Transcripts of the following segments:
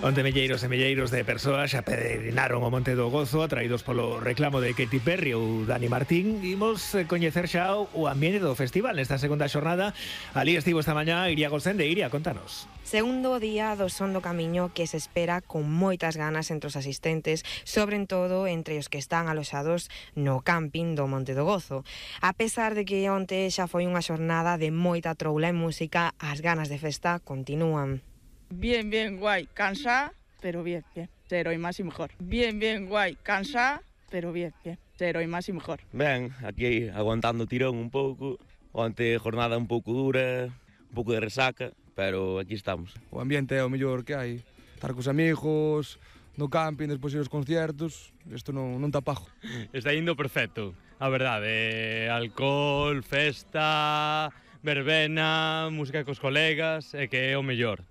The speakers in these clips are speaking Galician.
Onde milleiros e milleiros de persoas xa peregrinaron o Monte do Gozo atraídos polo reclamo de Katy Perry ou Dani Martín. Imos coñecer xa o ambiente do festival nesta segunda xornada. Ali estivo esta mañá Iria Gosende. Iria, contanos. Segundo día do Son do Camiño que se espera con moitas ganas entre os asistentes, sobre todo entre os que están aloxados no camping do Monte do Gozo. A pesar de que onte xa foi unha xornada de moita troula e música, as ganas de festa continúan. Bien, bien, guay, cansa, pero bien, bien, ser hoy más y mejor. Bien, bien, guay, cansa, pero bien, bien, ser hoy más y mejor. Ben, aquí aguantando tirón un pouco, onte jornada un pouco dura, un pouco de resaca, pero aquí estamos. O ambiente é o mellor que hai, estar cos amigos, no camping, despois ir aos concertos, isto non tá pago. Está indo perfecto, a verdade, alcohol, festa, verbena, música cos colegas, e que é o mellor.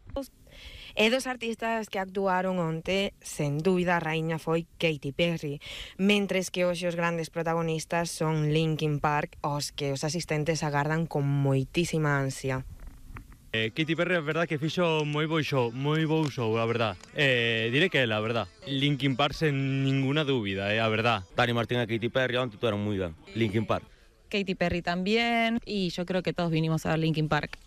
E dos artistas que actuaron onte, sen dúbida, a raíña foi Katy Perry, mentres que hoxe os grandes protagonistas son Linkin Park, os que os asistentes agardan con moitísima ansia. Katy Perry, a verdad, que fixo moi bo show, a verdad. Diré que ela, a verdad. Linkin Park sen ninguna dúbida, a verdad. Dani Martín e Katy Perry onte tueron moi ben. Linkin Park. Katy Perry también, y yo creo que todos vinimos a ver Linkin Park.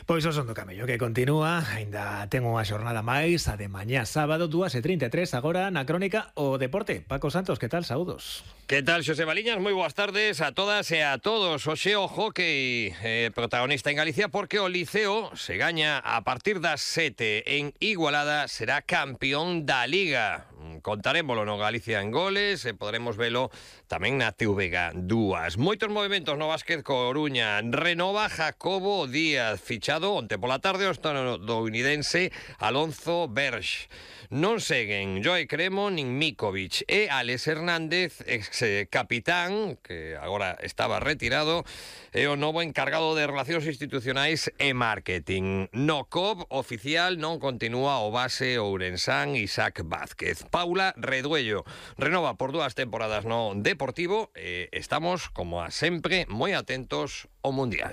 Pois o Son do Camiño que continúa, aínda ten unha xornada máis, a de mañá sábado, 2:33, agora na crónica o deporte. Paco Santos, que tal? Saúdos. Que tal, Xosé Baliñas? Moi boas tardes a todas e a todos. Hoxe o hockey protagonista en Galicia porque o Liceo se gaña a partir das 7 en Igualada, será campeón da Liga. Contarémolo no Galicia en Goles e poderemos velo tamén na TVG 2. Moitos movimentos no básquet Coruña. Renova Jacobo Díaz, fichado onte pola tarde o estadounidense Alonso Berge. Non seguen Joe Cremo nin Mikovic e Alex Hernández, ex capitán, que agora estaba retirado, é o novo encargado de Relacións Institucionais e Marketing. No COP oficial non continúa o base ourensán Isaac Vázquez. Paula Reduello renova por 2 temporadas no Deportivo e estamos, como a sempre, moi atentos ao Mundial.